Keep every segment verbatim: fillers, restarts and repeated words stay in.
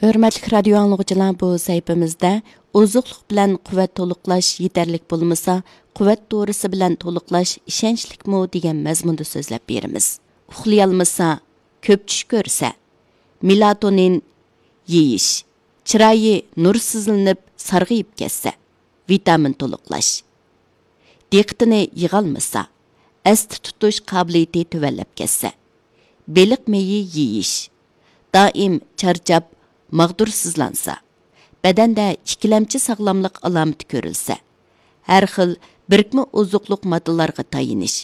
ھۆرمەتلىك رادىيو ئاڭلىغۇچىلار، بۇ سەھىپىمىزدە ئوزۇقلۇق بىلەن قۇۋۋەت تولۇقلاش يېتەرلىك بولمىسا، قۇۋۋەت دورىسى بىلەن تولۇقلاش ئىشەنچلىكمۇ دېگەن مەزمۇندا سۆزلەپ بېرىمىز. ئۇخلىيالمىسا، كۆپ چۈش كۆرسە، مېلاتونىن يېيىش، چىرايى نۇرسىزلىنىپ سارغىيىپ كەتسە، ۋىتامىن تولۇقلاش. دىققىتىنى يىغالمىسا، ئەستە تۇتۇش قابىلىيىتى تۆۋەنلەپ كەتسە، بېلىق مېيى يېيىش، دائىم چارچاپ، ماغدۇرسىزلانسا، بەدەندە ئىككىلەمچى ساغلاملىق ئالامىتى كۆرۈلسە، ھەر خىل بىرىكمە ئوزۇقلۇق ماددىلارغا تايىنىش،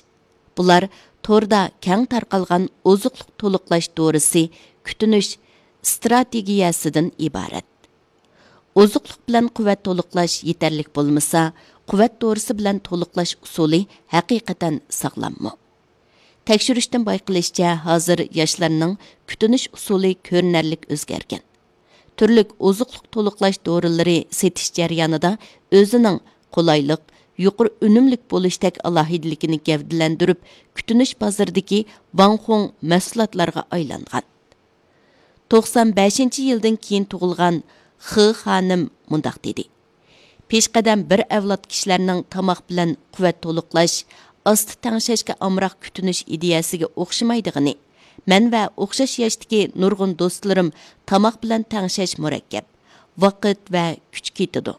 بۇلار توردا كەڭ تارقالغان ئوزۇقلۇق تولۇقلاش دورىسى كۈتۈنۈش ئىستراتېگىيەسىدىن ئىبارەت. ئوزۇقلۇق بىلەن قۇۋۋەت تولۇقلاش يېتەرلىك بولمىسا، قۇۋۋەت دورىسى بىلەن تولۇقلاش ئۇسۇلى ھەقىقەتەن ساغلاممۇ؟ تەكشۈرۈشتىن بايقىلىشىچە، ھازىر ياشلارنىڭ كۈتۈنۈش ئۇسۇلى كۆرۈنەرلىك ئۆزگەرگەن. تۈرلۈك ئوزۇقلۇق تولۇقلاش دورىلىرى سېتىش جەريانىدا ئۆزىنىڭ قولايلىق، يۇقىرى ئۈنۈملۈك بولۇشتەك ئالاھىدىلىكىنى گەۋدىلەندۈرۈپ، كۈتۈنۈش بازىرىدىكى ۋاڭخۇڭ مەھسۇلاتلارغا ئايلانغان. توقسان بەشىنچى يىلدىن كېيىن تۇغۇلغان خې خانىم مۇنداق دېدى: پېشقەدەم بىر ئەۋلاد كىشىلەرنىڭ تاماق بىلەن قۇۋۋەت تولۇقلاش، ئاستا تەڭشەشكە ئامراق كۈتۈنۈش ئىدىيەسىگە ئوخشىمايدىغىنى، مەن ۋە ئوخشاش ياشتىكى نۇرغۇن دوستلىرىم تاماق بىلەن تەڭشەش مۇرەككەپ، ۋاقىت ۋە كۈچ كېتىدۇ.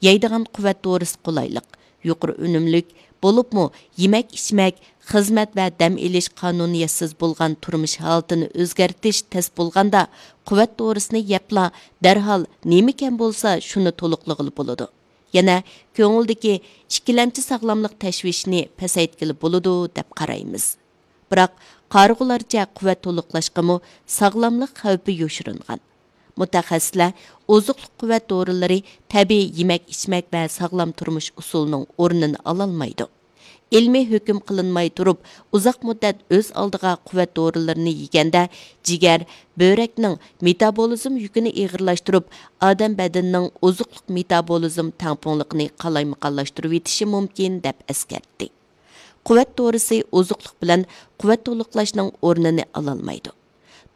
يەيدىغان قۇۋۋەت دورىسى قولايلىق، يۇقىرى ئۈنۈملۈك، بولۇپمۇ يېمەك-ئىچمەك، خىزمەت ۋە دەم ئېلىش قانۇنىيەتسىز بولغان تۇرمۇش ھالىتىنى ئۆزگەرتىش تەس بولغاندا، قۇۋۋەت دورىسىنى يەپلا دەرھال نېمىكەن بولسا شۇنى تولۇقلىغىلى بولىدۇ. يەنە كۆڭۈلدىكى ئىككىلەمچى ساغلاملىق تەشۋىشىنى پەسەيتكىلى بولىدۇ دەپ قارايمىز. بىراق، قارىغۇلارچە قۇۋۋەت تولۇقلاشقىمۇ ساغلاملىق خەۋپى يوشۇرۇنغان. مۇتەخەسسىسلەر ئوزۇقلۇق قۇۋۋەت دورىلىرى تەبىئىي يېمەك-ئىچمەك ۋە ساغلام تۇرمۇش ئۇسۇلىنىڭ ئورنىنى ئالالمايدۇ. ئىلمىي ھۆكۈم قىلىنماي تۇرۇپ، ئۇزاق مۇددەت ئۆز ئالدىغا قۇۋۋەت دورىلىرىنى يېگەندە، جىگەر، بۆرەكنىڭ مېتابولىزم يۈكىنى ئېغىرلاشتۇرۇپ، ئادەم بەدىنىنىڭ ئوزۇقلۇق مېتابولىزم تەڭپۇڭلۇقىنى قالايمىقانلاشتۇرۇۋېتىشى مۇمكىن، دەپ ئەسكەرتتى. قۇۋۋەت دورىسى ئوزۇقلۇق بىلەن قۇۋۋەت تولۇقلاشنىڭ ئورنىنى ئالالمايدۇ.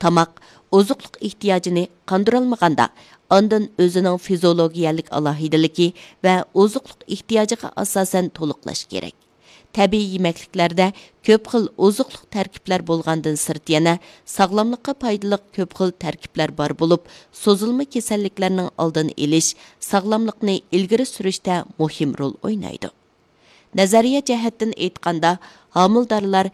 تاماق ئوزۇقلۇق ئېھتىياجىنى قاندۇرالمىغاندا، ئاندىن ئۆزىنىڭ فىزىئولوگىيەلىك ئالاھىدىلىكى ۋە ئوزۇقلۇق ئېھتىياجىغا ئاساسەن تولۇقلاش كېرەك. تەبىئىي يېمەكلىكلەردە كۆپ خىل ئوزۇقلۇق تەركىبلەر بولغاندىن سىرت، يەنە ساغلاملىققا پايدىلىق كۆپ خىل تەركىبلەر بار بولۇپ، سوزۇلما كېسەللىكلەرنىڭ ئالدىنى ئېلىش، ساغلاملىقنى ئىلگىرى سۈرۈشتە مۇھىم رول ئوينايدۇ. نەزەرىيە جەھەتتىن ئېيتقاندا، ھامىلىدارلار